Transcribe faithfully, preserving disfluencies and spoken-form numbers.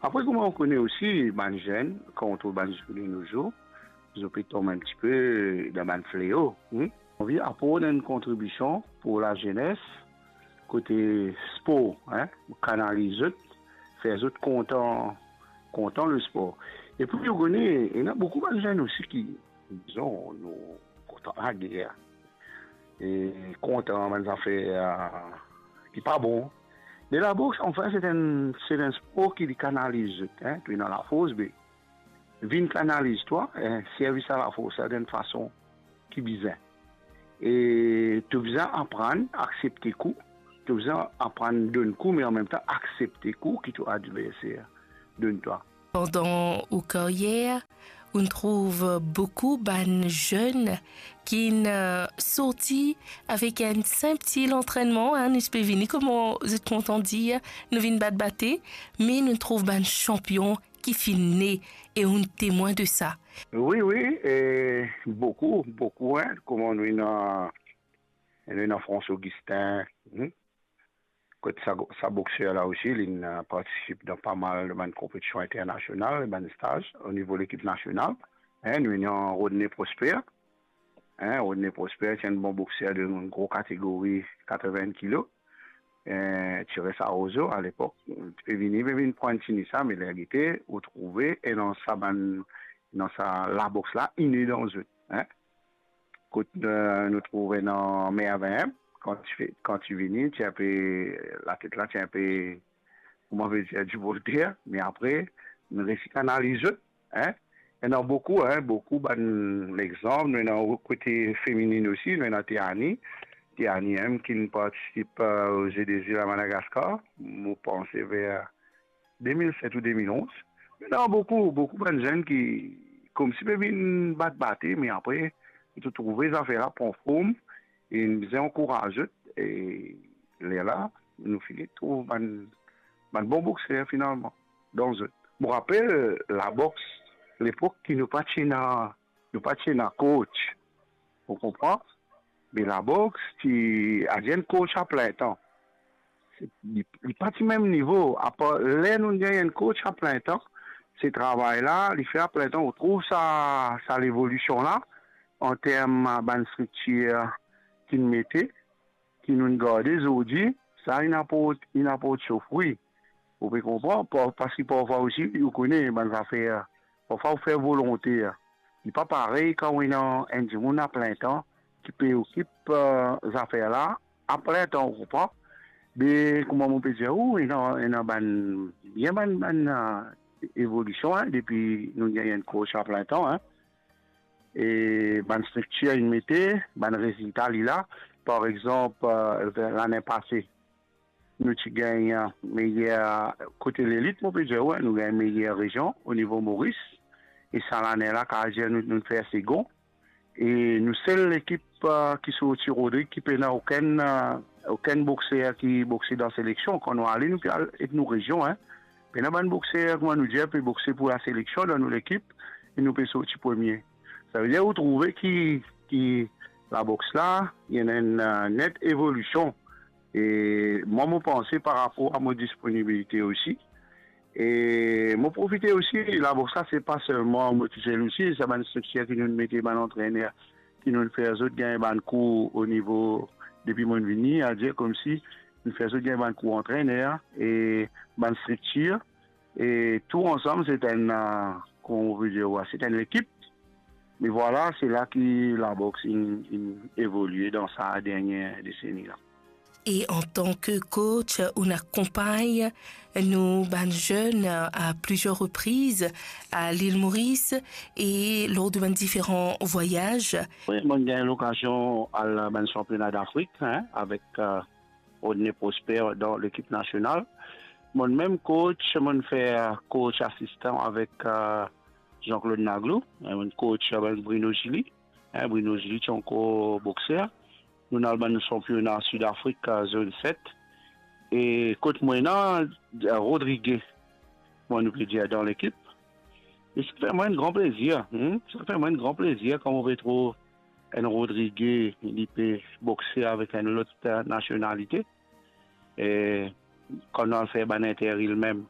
Apre, kouma ou kone osi, bann zenn, kan ou trouv bann zenn de nos jours, zot pe tonbe enn tipe dan bann fleo, hmm? Anvi aport enn kontribision pou lazenes, kote spor, hein, kanaliz zot, fer zot kontan, kontan lespor. Epi, ou kone, ena boukou bann zenn osi ki, dizon, nou kontan lager, e kontan bann zafer, eh, ki pa bon. Me laboks, anfin, se enn, se enn spor ki li kanaliz zot, hein, to ena lafors, be vinn kanaliz twa, eh, servi sa lafors la dan enn fason ki bizin. E to bizin aprann aksepte kou, to bizin aprann donn kou, me anmemtan aksepte kou ki to adverser donn twa. Pandan ou karyer, ou trouv boukou bann zenn ki, eh, sorti avek enn sinp ti lantrennman, hein, nou pe vini, kouma zot kontan dir, nou vinn bat bate, me nou trouv bann sanpion ki finn ne, e ou temwin de sa. Wi, wi, e boukou, boukou, hein, kouma nou ena, nou ena François Augustin, hmm? Kot sa, sa bokser la osi, li, eh, partisip dan pa mal de bann konpetision internasional, bann staz o nivo lekip nasional. Hein, nou ena Rodney Prosper. Hein, Rodney Prosper, ti enn bon bokser de gro kategori, katrevin kilo. Eh, ti res Arrozeau alepok. Ti pe vini, pe vinn pran tini sa, me ler gete, ou trouve, e dan sa bann, dan sa laboks la, inn dan zot, hein. Kot, eh, nou trouve ena Mervin, kan ti fe-, kan ti vini, ti enpe, latet la, ti enpe, kouma ve dir, divolte, me apre, nou resi kanaliz zot, hein. Ena boukou, hein, boukou bann lexanp, nou ena kote feminin osi, nou ena Teani. Teani mem ki partisip, eh, o Jeux des Îles à Madagascar, mo panse ver de mil set ou de mil onz. Ena boukou, boukou bann zenn ki, koumsi pe vinn bat bate, me apre, to trouve zafer la pran form, e nou bizin ankouraz zot, e lerla, nou fini trouv bann, bann bon bokser finalman, dan zot. Mo rapel, laboks, lepok ki nou pa ti ena, nou pa ti ena coach, ou konpran? Me laboks ti, ti enn coach a plin tan. Se, li, li pa ti mem nivo. Apar ler nou gagn enn coach a plin tan, se travay la, li fer a plin tan, ou trouv sa, sa levolision la, an term bann striktir ki nou mete, ki nou garde zordi, sa inn aport, inn aport so fri. Ou pe konpran? Pa-, parski parfwa osi, ou kone bann zafer, parfwa ou fer volonte, li pa parey kan ou ena enn dimoun a plin tan ki pe okip, eh, zafer la a plin tan, ou konpran? Me kouma mo pe dir ou, ena, ena bann, bien bann, bann, eh, evolision, hein, depi nou gagn enn coach a plin tan, hein. E bann striktir inn mete, bann rezilta li la. Par exanp, eh, lane pase, nou ti gagn, eh, meyer kote lelit, mo pe dir, wi, nou gagn meyer rezion o nivo Moris. E sa lane la, kapav dir nou, nou fer segon. E nou sel lekip, eh, ki sorti Rodrig, ki pena okenn, eh, okenn bokser ki bokse dan seleksion. Kan nou ale, nou pe al ek nou rezion, hein. Pena bann bokser, kouma nou dir, pe bokse pou laseleksion dan nou lekip, e nou pe sorti premie. Savedir ou trouve ki, ki laboks la, ena enn, eh, net evolision. E mwa, mo panse par rapor a mo disponibilite osi. E mo profite osi, laboks la, se pa selman mo tousel osi, sa bann striktir ki nou mete, bann antrener ki nou fer zot gagn bann kour o nivo, depi mo vini, a dir koumsi nou fer zot gagn bann kour antrener e bann striktir, e tou ansam, se enn, eh, kouma ou pe dir, wi, se enn lekip. Me vwala, se la ki laboks inn, inn evolie dan sa dernie deseni la. E antan ki coach, ou akonpagn nou bann zenn a plizier repriz a Lil Moris e lor de bann diferan vwayaz. Wi, mo gagn lokazion al bann sanpiona Dafrik, hein, avek, eh, Rodney Prosper dan lekip nasional. Mo mem coach, mo fer coach asistan avek, eh, Jean-Claude Naglou, hein, mo coach avek Bruno Gilly. Hein, Bruno Gilly ti ankor bokser. Nou al bann sanpiona Sidafrik, eh, zone set. E kot mo ena, eh, Rodrigue, kouma nou pe dir, dan lekip. E sa fer mwa enn gran plezir, hmm? Sa fer mwa enn gran plezir kan mo pe trouv enn Rodrigue, li pe bokse avek enn lot, eh, nasionalite. E kan nou al fer bann interview mem,